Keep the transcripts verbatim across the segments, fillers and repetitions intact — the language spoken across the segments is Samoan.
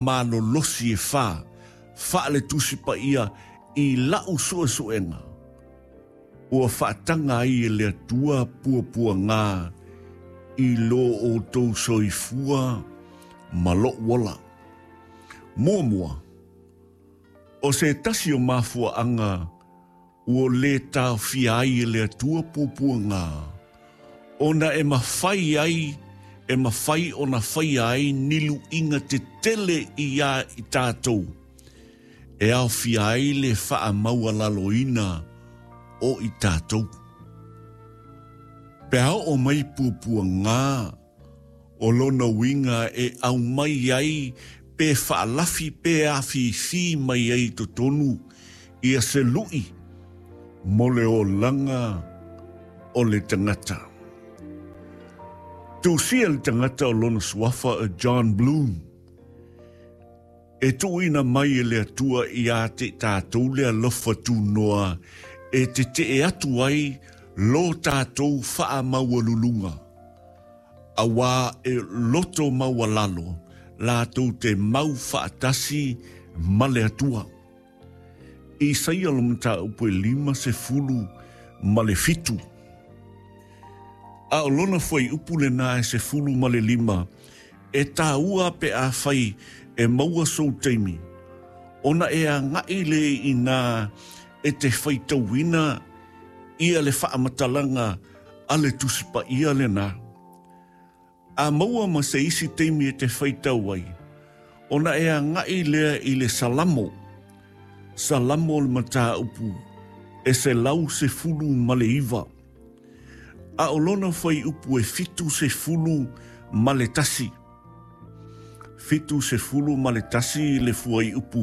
Malolosi e fā faale Tusi Paia i la'u su'esu'ega ua faataga ai e le Atua puapuagā i lo outou soifua ma lo'u ola. Muamua, o se tasi o mafua'aga ua lē taofia ai e le Atua puapuagā, ona e mafai ai e mafai ona faia ai ni lu'iga tetele iā i tatou e aofia ai le fa'amaualaloina o i tatou. Pe a oo mai puapuagā, o lona uiga e aumai ai pe fa'alafi pe afifi mai ai totonu ia se lu'i mo le olaga o le tagata. Tusia le tagata o lona suafa e John Bloom, e tuuina mai e le Atua iā te tatou le alofa tunoa e tete'e atu ai lo tatou fa'amaualuluga, auā e loto maualalo latou te mau fa'atasi ma le Atua. Isaia le mataupu e lima sefulu ma le fitu, a o lona fuaiupu lenā e sefulu ma le lima. E tāua pe afai e maua sou taimi ona e aga'i le inā e te faitauina ia le faamatalaga a le Tusi Paia lenā. A maua ma se isi taimi e te faitau ai, ona e aga'i lea i le Salamo, Salamo le mataupu e selau sefulu ma le iva, a o lona fuaiupu e fitu sefulu ma le tasi. Fitu sefulu ma le tasi le fuaiupu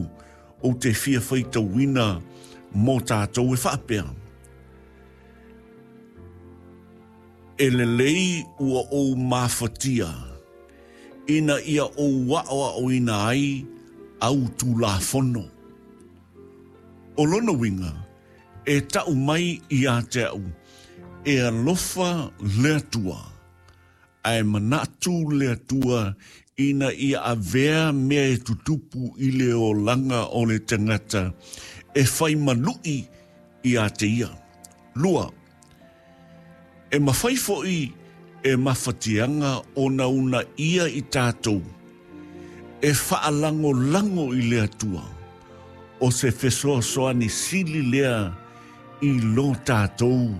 ou te fia faitauina mo tatou, e faapea: E lelei ua ou mafatia ina ia ou a'oa'oina ai au tulafono. O lona uiga e ta'u mai iā te a'u e alofa le Atua, ae manatu le Atua ina ia avea mea e tutupu i le olaga o le tagata e fai malu'i iā te ia. Lua, e mafai fo'i e mafatiaga ona unaia i tatou e faalagolago i le Atua, o se fesoasoani sili lea i lo tatou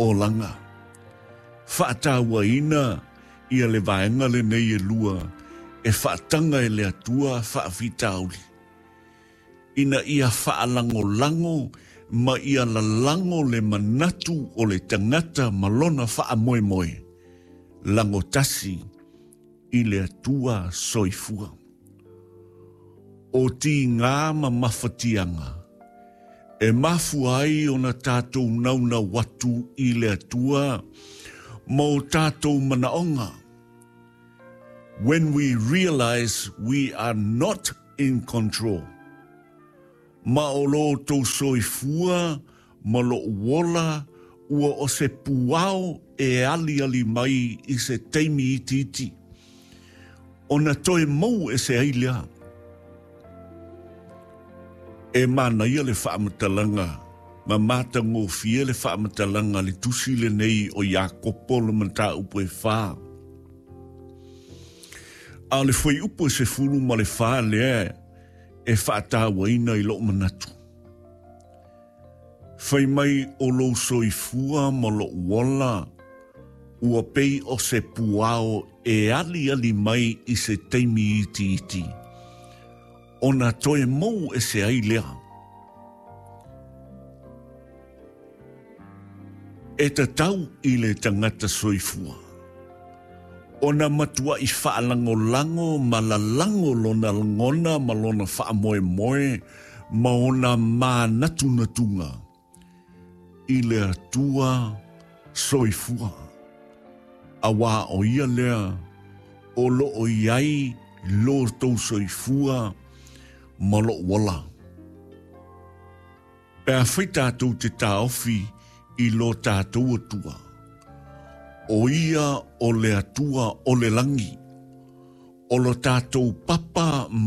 olaga. Faatauaina ia le vaega lenei e lua e faataga e le Atua faafitauli, ina ia faalagolago ma ia lalago le manatu o le tagata ma lona faamoemoe lagotasi i le Atua soifua. O tigā ma mafatiaga e mafua ai ona tatou naunau atu i le Atua ma o tatou manaoga. When we realize we are not in control. Ma o lo outou soifua ma lo'u ola ua o se puao e aliali mai i se taimi itiiti, ona toe mou ese ai lea. E manaia le faamatalaga ma matagofie le faamatalaga le tusi lenei o Iakopo le mataupu e fā, a o le fuaiupu e sefulu ma le fā lea e faatauaina i lo'u manatu. Fai mai o lou soifua ma lo'u ola ua pei o se puao e aliali mai i se taimi itiiti, ona toe mou ese ai lea. E tatau i le tagata soifua ona matua'i faalagolago ma lalago lona lagona ma lona faamoemoe ma ona manatunatuga i le Atua soifua, auā o ia lea o lo'o i ai lo tou soifua ma lo'u ola. Pe afai tatou te taofi i lo tatou Atua, o ia o le Atua o le lagi, o lo tatou papa